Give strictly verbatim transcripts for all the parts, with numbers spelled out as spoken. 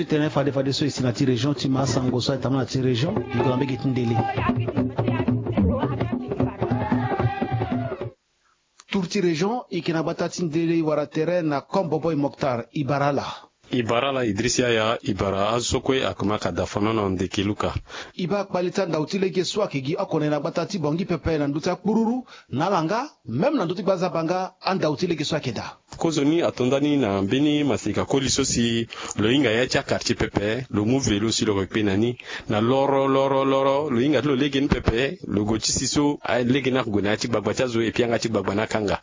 Tënë fade fade so e si na ti région ti ma asango so aye tambula na ti région e gue na mbege ti ndele. Tour ti région e yeke na gbata ti ndele e wara tere na Kombobo e Moktar. E bara ala. E bara ala Idris Yaya. E bara azo so kue akoma ka da fano na ndeke luka. E baa kpale ti andau ti lege so ayeke gi oko na e na gbata ti Bangui pepe na ndö ti akpururu na ala nga même na ndö ti gbazaba nga andau ti lege so ayeke daa. Kozoni ato ndani na mbeni maseka koli so si lo hinga ya ti akartier pepe lo mu velo si lo yeke kpe na ni na loro loro loro lo hinga ti lo lege ni pepe lo gue ti si so lege ni ako gue na ya ti gbagba ti azo epui yanga ti gbagba ni akanga.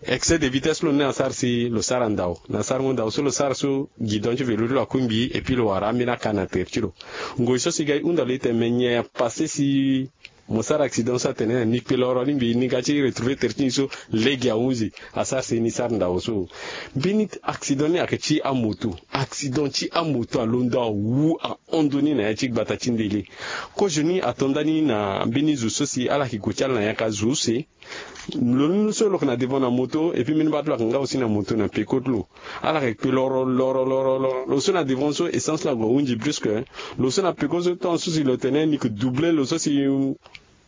Excès de vitesse lo ni asara si lo sara ndau na sarango ndau so lo sara so gidon ti velo ti lo akungbi epui lo wara ambeni aka na tere ti lo. Ngoi so si ga e hunda lo ete me nyen apase si mo sara accident so atene na ni kpe loro lingbi ni ga ti retrouver tere ti ni so lege ahunzi asara si ni sara ndau so. Mbeni accident ni ayeke ti amoto. Accident ti amoto alondo awu ahon ndoni na ya ti gbata ti ndele. Kozoni ato ndani na mbeni zo so si ala yeke gue ti ala na yaka zo use. Lo ni so lo yeke na devant na moto epui mbeni baa ti lo ayeke nga aussi na moto na peko ti lo. Ala yeke kpe loro loro loro loro lo so na devant so essence lo ague ahunzi brusque. Lo so na peko so tant so si lo tene ni yeke doubler lo so si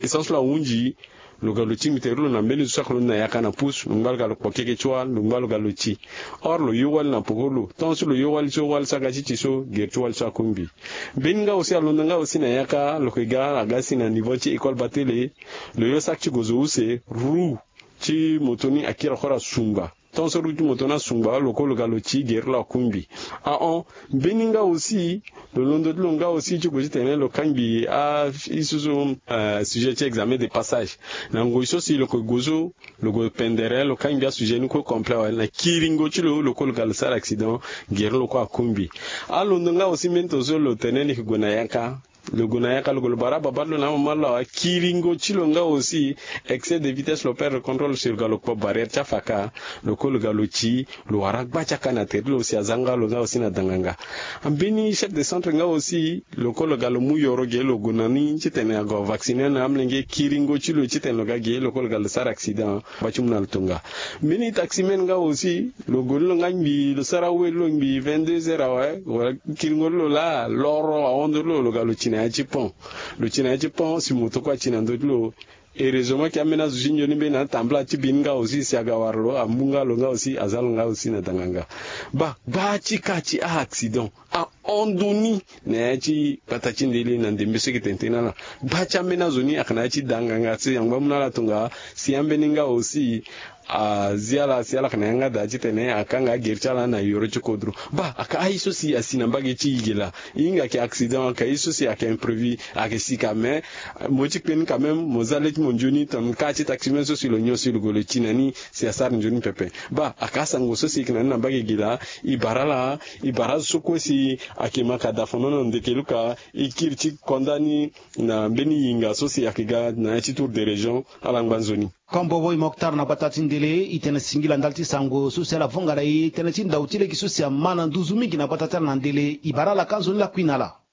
essence lo ahunzi. Lo ga lo tingbi tere ti lo na mbeni zo so ayeke lo ni na yaka na pousse lo ngba lo ga lo kpo keke ti wâ lo ngba lo ga lo ti. Or lo yo wali na peko ti lo tant so lo yo wali so wali so aga ti ti so gere ti wali so akungbi. Mbeni nga aussi alondo nga aussi na yaka lo yeke ga aga si na niveau ti école batele. Lo yo saki ti gue zo use roue ti moto ni akiri akora sungba. Tant so roue ti moto ni asungba lo kue lo ga lo ti gere ti lo akungbi. Ahon mbeni nga aussi lo londo ti lo nga aussi ti gue titene lo kangbi a iso so sujet ti examen de passage. Na ngoi so si lo yeke gue so lo gue pendere lo kangbi asujet ni kue complet awe na kiringo ti lo lo kue lo ga lo sara accident. Gere ti lo kue akungbi. Alondo nga aussi mbeni to so lo tene ni yeke gue na yaka. Lo gue na yaka lo gue lo bara ababa ti lo na amama ti lo awe kiringo ti lo nga aussi. Excès de vitesse lo perdre contrôle si lo ga lo kpo barrière ti afaka. Lo kue lo ga lo ti lo wara agba ti aka na tere ti lo si aza nga lo nga aussi na danganga. Mbeni chef de centre nga aussi lo kue lo ga lo mu yoro ge lo gue na ni titene ague avacciner na amolenge kiringo ti lo titene lo ga ge lo kue lo ga lo sara accident. Ba ti mu na lo tonga. Mbeni taximen nga aussi lo gue ni lo nga ngbi lo sara awe ti lo ngbi vingt-deux heures awe wala kiringo ti lo laa loro ahon ndö ti lo lo ga lo ti na ya ti pont. Lo ti na ya ti pont si moto kue ati na ndö ti lo. Heureusement ke ambeni azo ti nzoni mbeni atambula ti bi ni nga aussi si aga wara lo amu nga lo nga aussi aza lo nga aussi na danganga. Ba gba ti ka ti a-accident ahon ndoni na ya ti gbata ti ndele na ndembe so eke tene tënë na ala. Gba ti ambeni azo ni ayeke na ya ti danganga so yangba amu na ala tonga. Si ambeni nga aussi azi ala si ala yeke na yanga daa titene akanga agere ti ala na yoro ti kodro. Ba ayeke aye so si asi na mbage ti yigela. E hinga ayeke accident ayeke aye so si ayeke imprévu. Ayeke sika mais mo ti kpe ni quand même mo za le ti mo nzoni tongana ka ti taximen so si lo nyon si lo gue lo ti na ni si asara nzoni pepe. Ba ayeke asango so si e yeke na ni na mbage gi laa. E bara ala e bara azo so kue si ayeke ma ka da fono na ndeke luka. E kiri ti konda ni na mbeni yinga so si ayeke ga na ya ti tour de région. Ala ngba nzoni. Kombo wo e moktar na gbata ti ndele e tene singila ndali ti sango so si ala vonga na e tënë ti ndau ti lege so si ama na nduzu mingi na gbata ti ala na ndele e bara ala ka nzoni lakui na ala.